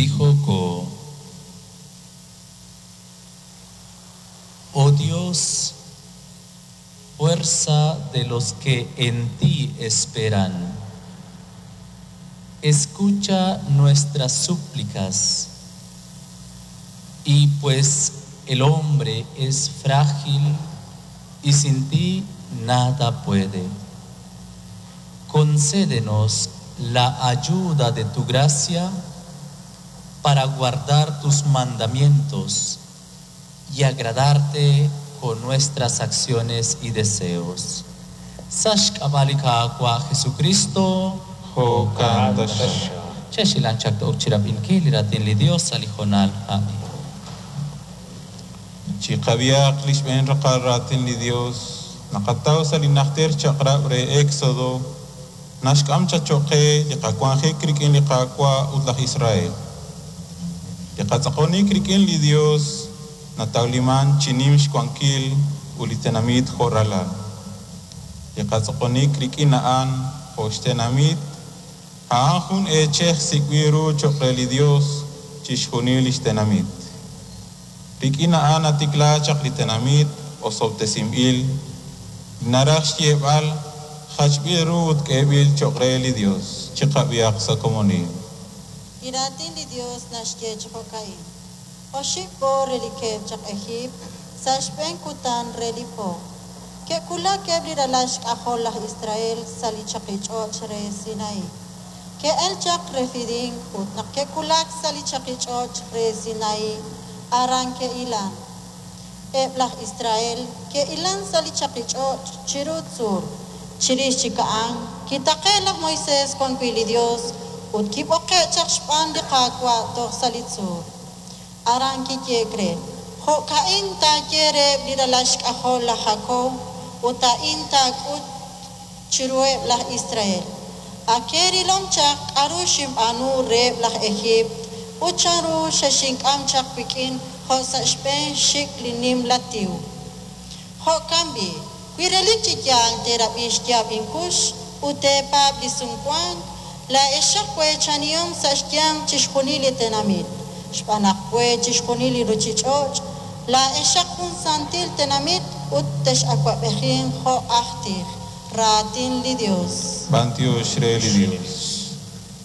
Tijoko. Oh Dios, fuerza de los que en ti esperan, escucha nuestras súplicas. Y pues el hombre es frágil y sin ti nada puede. Concédenos la ayuda de tu gracia para guardar tus mandamientos y agradarte con nuestras acciones y deseos. Sa' xk'ab'a' li Qaawa' Jesukristo. Jo'kan taxaq. Chexhilanq chaq to'ok chirab'inkil li raatin li Dios sa' li hoonal a'in. Chiqab'ihaq li xb'een raqal raatin li Dios naqataw sa' li Najter Chaq'rab' re Exodo, naxk'am chaq choq' qe li qawanjik rik'in li Qaawa' ut laj Israel. Li qatz'aqonik rik'in li Dios natawliman chi nim xwankil ut li tenamit jo' ralal. Li qatz'aqonik rik'in a'an jo' xtenamit, a'an jun eechej sik'b'il ru choq' re li Dios chixjunil lix tenamit. Rik'in a'an natikla chaq li tenamit osob'tesinb'il, li naraj xyeeb'al jachb'il ru ut k'eeb'il choq' re li Dios. Chiqab'ihaq sa' komonil. Li Raatin li Yos naxye chi jo'ka'in, Oxib' po relikeb' chaq Ejiipt, sa' xb'een kutan re li po, ke'wulak eb' li ralal xk'ajol laj Israel sa' li chaqich'och' re Sinaí. Ke'elk chaq Refidín ut naq ke'wulak sa' li chaqich'och' re Sinaí, aran ke'hilank. Eb' laj Israel ke'hilank sa' li chaqich'och' chiru tzuul. Chirix chik a'an kitaqe'k laj Moisés wan wi' li Yos ut kib'oqe'k chaq xb'aan li Qaawa' toj sa' li tzuul. Aran kiyehe'k re, Jo'ka'in taaye reheb' li ralal xk'ajol laj Jakob ut a'in taak'ut chiruheb' laj Israel, Ak eerilom chaq k'aru xinb'aanu reheb' laj Ejiipt ut chanru xexink'am chaq wik'in jo' sa' xb'een xxik' li nimla tiw. Jo'kan b'i', wi relik chi yaal teerab'i xyaab' inkux ut teepaab' li sumwank, laa'exaq weechanihom sa' xyanq chixjunil li tenamit, xb'aan naq we chixjunil li ruuchich'och', laa'exaq jun santil tenamit ut tex'awab'ejinq jo' aj tij. Raatin li Yos. B'antiox re li Dios.